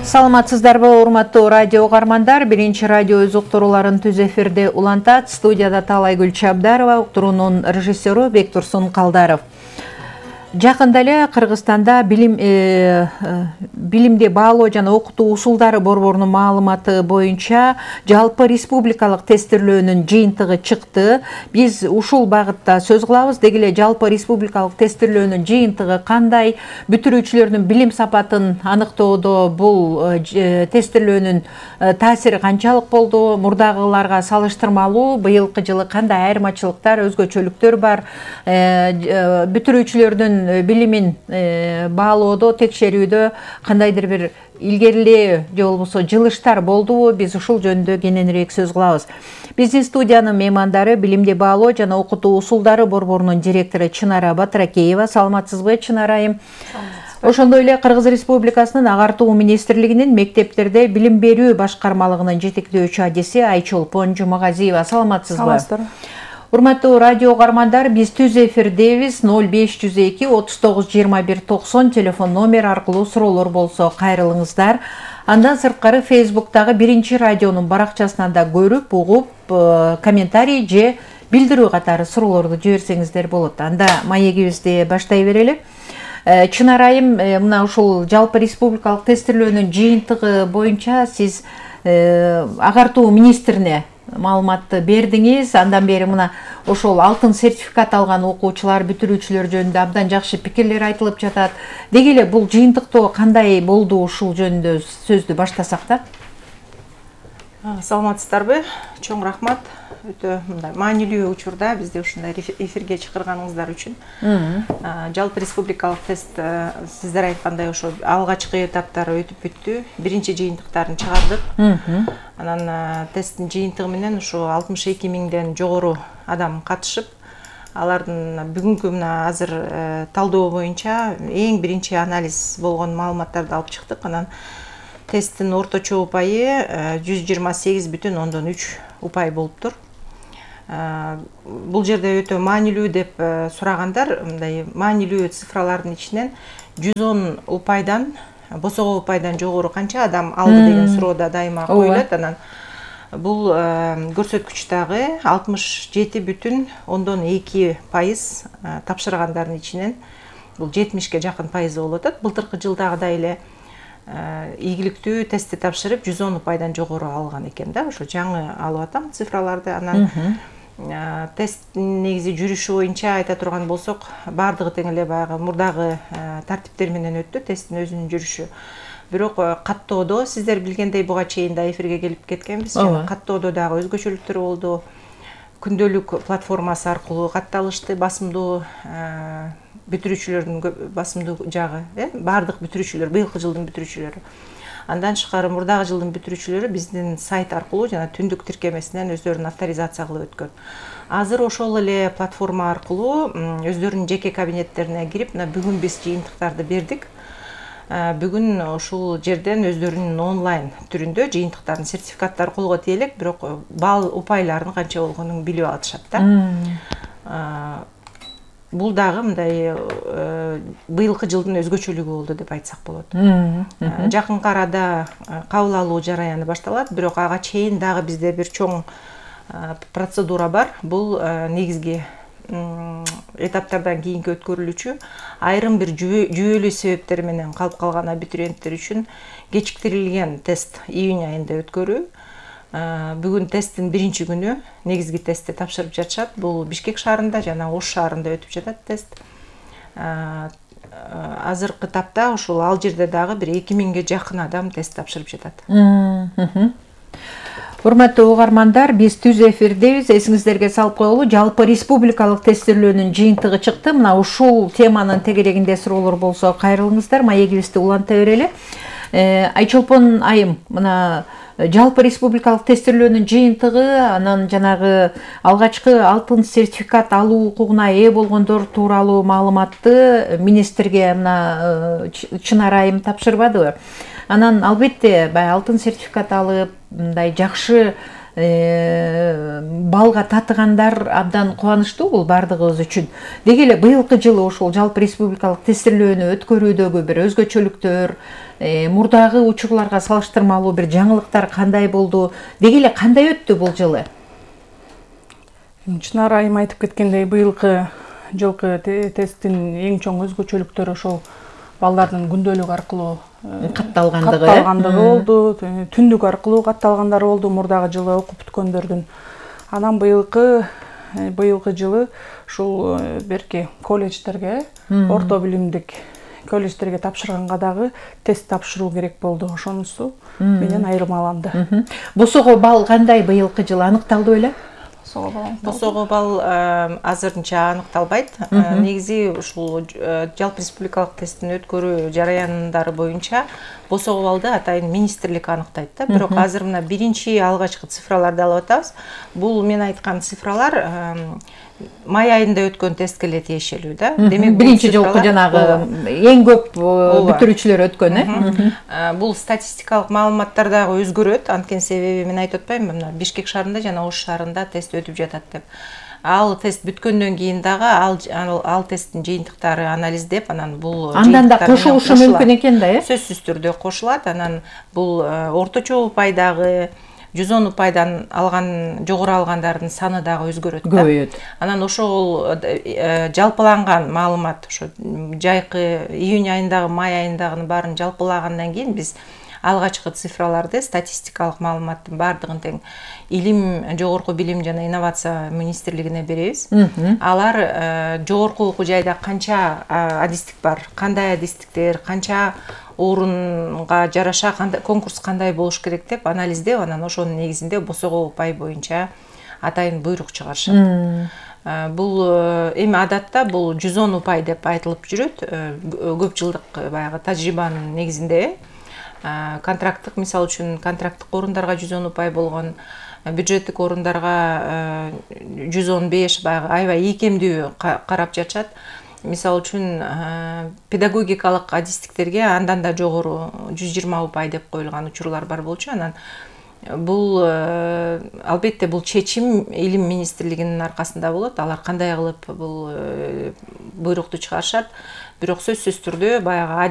Саламатсыздарбы, урматтуу радио угармандар. Биринчи радио өз уктурууларын түз эфирде улантат. Студияда Талайгүл Чабдарова, уктуруунун режиссеру Бектурсун Калдаров. Жакында эле Кыргызстанда билимди баалоо жана окутуу усулдары борборунун маалыматы боюнча жалпы республикалык тестирлөөнүн жыйынтыгы чыкты. Биз ушул багытта сөз кылабыз. Деги эле жалпы республикалык тестирлөөнүн жыйынтыгы кандай, бүтүрүүчүлөрдүн билим сапатын аныктоодо бул тестирлөөнүн таасири канчалык болду, мурдагыларга салыштырмалуу быйылкы жылы кандай айырмачылыктар, өзгөчөлүктөр бар, бүтүрүүчүлөрдүн билимин баалоодо, текшерүүдө кандайдыр бир илгерилөө же болбосо жылыштар болдубу? Биз ушул жөнүндө кененирээк сөз кылабыз. Биздин студиянын меймандары билимди баалоо жана окутуу усулдары борборунун директору Чынара Батыракеева. Саламатсызбы, Чынара айым? Ошондой эле Кыргыз Республикасынын Агартуу министрлигинин мектептерде билим берүү башкармалыгынын жетектөөчү адиси Айчолпон Жумагазиева. Саламатсызбы? Саламатсыздар. Урматтуу радио угармандар, биз түз эфирдебиз. 0502 39 21 90 телефон номер аркылуу суроолор болсо кайрылыңыздар. Андан сырткары Facebooktагы биринчи радионун баракчасынан да көрүп, угуп, комментарий же билдирүү катары суроолорду жиберсеңиздер болот. Анда маегибизди баштай берели. Чынара айым, мына ушул жалпы республикалык тестирлөөнүн жыйынтыгы боюнча сиз агартуу министрине маалыматты бердиңиз. Андан бери мына ошол алтын сертификат алган окуучулар, бүтүрүүчүлөр жөнүндө абдан жакшы пикирлер айтылып жатат. Деги эле бул жыйынтыктоо кандай болду, ушул жөнүндө сөздү баштасак да? Саламатсыздарбы? Чоң рахмат. Өтө мындай маанилүү учурда бизди ушундай эфирге чакырганыңыздар үчүн. Жалпы республикалык тест сиздер айткандай ошо алгачкы этаптары өтүп бүттү. Биринчи жыйынтыктарын чыгардык. Анан тесттин жыйынтыгы менен ушу 62 миңден жогору адам катышып, алардын бүгүнкү мына азыр талдоо боюнча эң биринчи анализ болгон маалыматтарды алып чыктык. Анан тесттин орточо упайы 128,3 упай болуптур. Бул жерде өтө маанилүү деп сурагандар, мындай маанилүү цифралардын ичинен 110 упайдан, босого упайдан жогору канча адам алды деген суроо да дайыма коюлат. Анан бул көрсөткүч дагы 67,2% тапшыргандардын ичинен бул 70ке жакын пайызы болуп атат. Былтыркы жылдагыдай эле ийгиликтүү тестти тапшырып 110 упайдан жогору алган экен да. Ошо жаңы алып атам цифраларды. Анан тест негизи жүрүшү боюнча айта турган болсок, бардыгы тең эле баягы мурдагы тартиптер менен өттү тесттин өзүнүн жүрүшү. Бирок каттоодо сиздер билгендей буга чейин да эфирге келип кеткенбиз. Каттоодо дагы өзгөчөлүктөр болду. Күндөлүк платформасы аркылуу катталышты, басымдуу бүтүрүүчүлөрдүн басымдуу жагы, бардык бүтүрүүчүлөр, быйылкы жылдын бүтүрүүчүлөрү. Андан тышкары мурдагы жылдын бүтүрүүчүлөрү биздин сайт аркылуу жана түндүк тиркемесинен өздөрүн авторизация кылып өткөн. Азыр ошол эле платформа аркылуу өздөрүнүн жеке кабинеттерине кирип, мына бүгүн биз жыйынтыктарды бердик. Бүгүн ушул жерден өздөрүнүн онлайн түрүндө жыйынтыктардын сертификаттары колго тиелек, бирок балл упайларынын канча болгонун билип алышат да. Бул дагы мындай быйылкы жылдын өзгөчөлүгү болду деп айтсак болот. Жакынкы арада кабыл алуу жараяны башталат, бирок ага чейин дагы бизде бир чоң процедура бар. Бул негизги этаптардан кийинки өткөрүлүүчү айрым бир жүйөлүү себептер менен калып калган абитуриенттер үчүн кечиктирилген тест июнь айында өткөрүү. Бүгүн тесттин биринчи күнү негизги тестти тапшырып жатышат. Бул Бишкек шаарында жана Ош шаарында өтүп жатат тест. Азыркы тапта ушул ал жерде дагы бир 2000ге жакын адам тест тапшырып жатат. Урматтуу угармандар, биз түз эфирдебиз. Эсиңиздерге салып коелу, жалпы республикалык тестирлөөнүн жыйынтыгы чыкты. Мына ушул теманын тегерегинде суроолор болсо кайрылыңыздар, маегибизди уланта берели. Айчолпон айым, мына жалпы республикалык тестирлөөнүн жыйынтыгы, анан жанагы алгачкы алтын сертификат алуу укугуна ээ болгондор тууралуу маалыматты министрге мына Чынара айым тапшырбадыбы? Анан албетте баягы алтын сертификат алып, мындай жакшы балга татыгандар абдан кубанычтуу, бул бардыгыбыз үчүн. Деги эле быйылкы жылы ушул жалпы республикалык тестирлөөнү өткөрүүдөгү бир өзгөчөлүктөр, мурдагы учурларга салыштырмалуу бир жаңылыктар кандай болду? Деги эле кандай өттү бул жылы? Чынара айым айтып кеткендей, быйылкы жылкы тесттин эң чоң өзгөчөлүктөрү ошол балдардын күндөлүк аркылуу катталгандыгы болду, түндүк аркылуу катталгандары болду мурдагы жылы окуп бүткөндөрдүн. Анан быйылкы жылы ушул берки колледждерге, орто билимдик колледждерге тапшырганга дагы тест тапшыруу керек болду. Ошонусу менен айырмаланды. Босого балл кандай быйылкы жылы аныкталды беле? Босого балл азырынча аныкталбайт. Негизи ушул жалпы республикалык тесттин өткөрүү жараяндары боюнча босого баллды атайын министрлик аныктайт да. Бирок азыр мына биринчи алгачкы цифраларды алып атабыз. Бул мен айткан цифралар май айында өткөн тестке эле тиешелүү да. Демек биринчи жолку жанагы эң көп бүтүрүүчүлөр өткөн, Бул статистикалык маалыматтар дагы өзгөрөт. Анткени себеби мен айтып атпаймынбы, мына Бишкек шаарында жана Ош шаарында тест өтүп жатат деп. Ал тест бүткөндөн кийин дагы ал тесттин жыйынтыктары анализдеп, анан бул андан да кошулушу мүмкүн экен да, сөзсүз түрдө кошулат. Анан бул орточо упайдагы 110 упайдан алган, жогору алгандардын саны дагы өзгөрөт да. Көбөйөт. Анан ошол жалпыланган маалымат, ошо жайкы июнь айындагы, май айындагынын баарын жалпылагандан кийин биз алгачкы цифраларды, статистикалык маалыматтын баардыгын тең илим, жогорку билим жана инновация министрлигине беребиз. Алар жогорку окуу жайда канча адистик бар, кандай адистиктер, канча орунга жараша конкурс кандай болуш керек деп анализдеп, анан ошонун негизинде босого упай боюнча атайын буйрук чыгарышат. Бул эми адатта бул 110 упай деп айтылып жүрөт. Көп жылдык баягы тажрыйбанын негизинде контракттык, мисалы үчүн контракттык орундарга 110 упай болгон, бюджеттик орундарга 115, баягы аябай ийкемдүү карап жатышат. Мисалы үчүн педагогикалык адистиктерге андан да жогору 120 упай деп коюлган учурлар бар болчу. Анан бул албетте бул чечим илим министрлигинин аркасында болот. Алар кандай кылып бул буйрукту чыгарышат. Бирок сөзсүз түрдө баягы